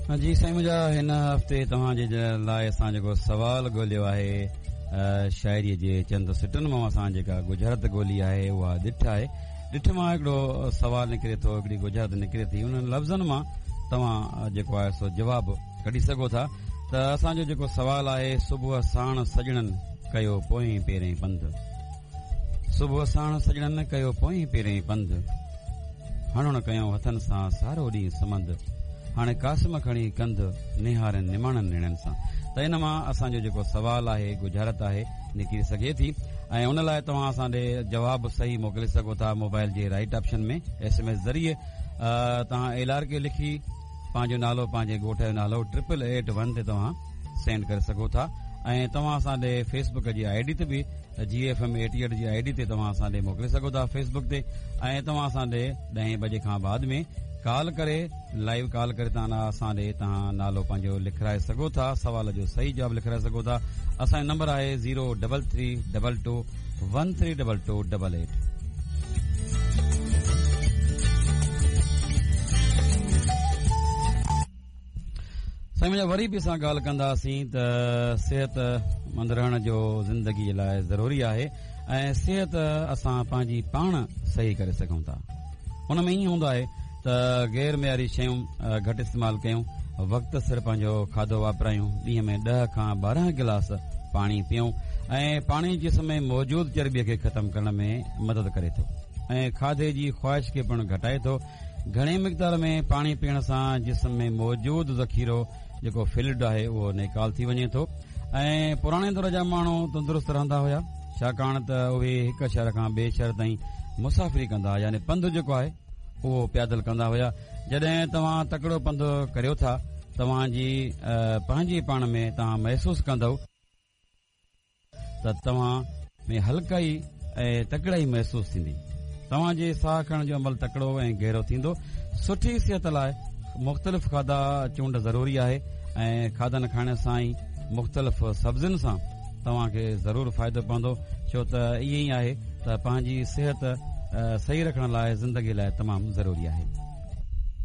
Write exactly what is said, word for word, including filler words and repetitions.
جي سائين منهنجا، هن هفتي توهان جي لاءِ اسان جيڪو سوال ڳولهيو آهي، شاعريءَ جي چند سٽن مان اسان جيڪا ڳجهارت ڳولهي آهي اها ڏٺ آهي. ڏٺ مان هڪڙو سوال نڪري ٿو، هڪڙي ڳجهارت نڪري ٿي، انهن لفظن مان توهان جيڪو آهي سو جواب ڪڍي سگهو ٿا. ته اسان جو جيڪو سوال آهي، صبح ساڻ سڄڻن ڪيو پوئين پيرين پنڌ، صبح ساڻ سڄڻن ڪيو پوئين پيرين پنڌ، هڻڻ ڪيو هٿن سان سارو ڏينهن سمنڌ، هاڻي قاسم کڻي ڪنڌ نهارن نماڻن نيڻن سان. ته ان مان اسان جو جيڪو سوال آهي، ڳجهارت آهي، نڪري سگهي ٿي ۽ ان لاءِ توهان اسان ڏي جواب صحيح موڪلي سگهو ٿا موبائل جي right option ۾ S M S ذريعي. توهان ايل آر ڪي لکي پنهنجو نالو، پنهنجي ڳوٺ جو نالو ٽرپل ايٽ ون تي توهان سينڊ ڪري سگهو ٿا. ۽ توهان اسان ڏي فيس بڪ جي I D تي به جي ايف ايم ايٽي ايٽ جي I D تي توهان اسان ڏي موڪلي سگهو ٿا فيس بڪ تي. ۽ توهان اسان ڏي ڏهين بجي کان بعد ۾ ڪال ڪري، لائيو ڪال ڪري توهان اسان ڏي توهان نالو پنهنجو لکرائي سگهو ٿا، سوال جو صحيح جواب لکرائي سگهو ٿا. اسان جو نمبر آهي zero double three double two one three double two double eight. سائين منهنجا، وري به اسان ڳالهه ڪنداسين ته صحت مند رهڻ جو زندگيءَ لاءِ ضروري آهي ۽ صحت اسان پنهنجي پاڻ صحيح ڪري سگهون ٿا. ان ۾ ائين هوندو آهي ته غير معياري شيون گهٽ استعمال ڪيون، وقت سر پنهنجو کاڌو واپرايون، ڏينهن ۾ ڏهه کان ٻارهن گلاس پاڻي پيئون ۽ پاڻي جسم ۾ موجود چرٻيءَ کي ختم ڪرڻ ۾ مدد ڪري ٿو ۽ کاڌي جي خواهش کي پڻ گهٽائي ٿو. گهڻي مقدار ۾ پاڻي پيئڻ سان جسم ۾ موجود ذخيرو جيڪو فلڊ آهي اهو نيڪال ٿي وڃي ٿو. ۽ پراڻي دور جا ماڻهو تندرست رهندا هئا، ڇاڪاڻ ته اهي هڪ شهر کان ٻئي شهر تائين مسافري ڪندا هئا، يعني پنڌ جيڪو آهي اهو پيادل ڪندا هئا. جڏهن توهان تڪڙو پنڌ ڪريو ٿا، توهان جي پنهنجي پاڻ ۾ توهان محسوس ڪندؤ ته توهان ۾ هلڪائي ۽ تڪڙائي محسوس ٿيندي. توهان جي ساهه کڻڻ جو عمل تڪڙو ۽ گهرو ٿيندو. سٺي صحت لاءِ مختلف کاڌا چونڊ ضروري آهي ۽ کاڌن کائڻ سان ئي مختلف سبزين سان توهان کي ضرور فائدو پوندو، ڇو ته ائين ئي آهي ته پنهنجي صحت صحيح رکڻ لاءِ زندگي لاءِ تمام ضروري آهي.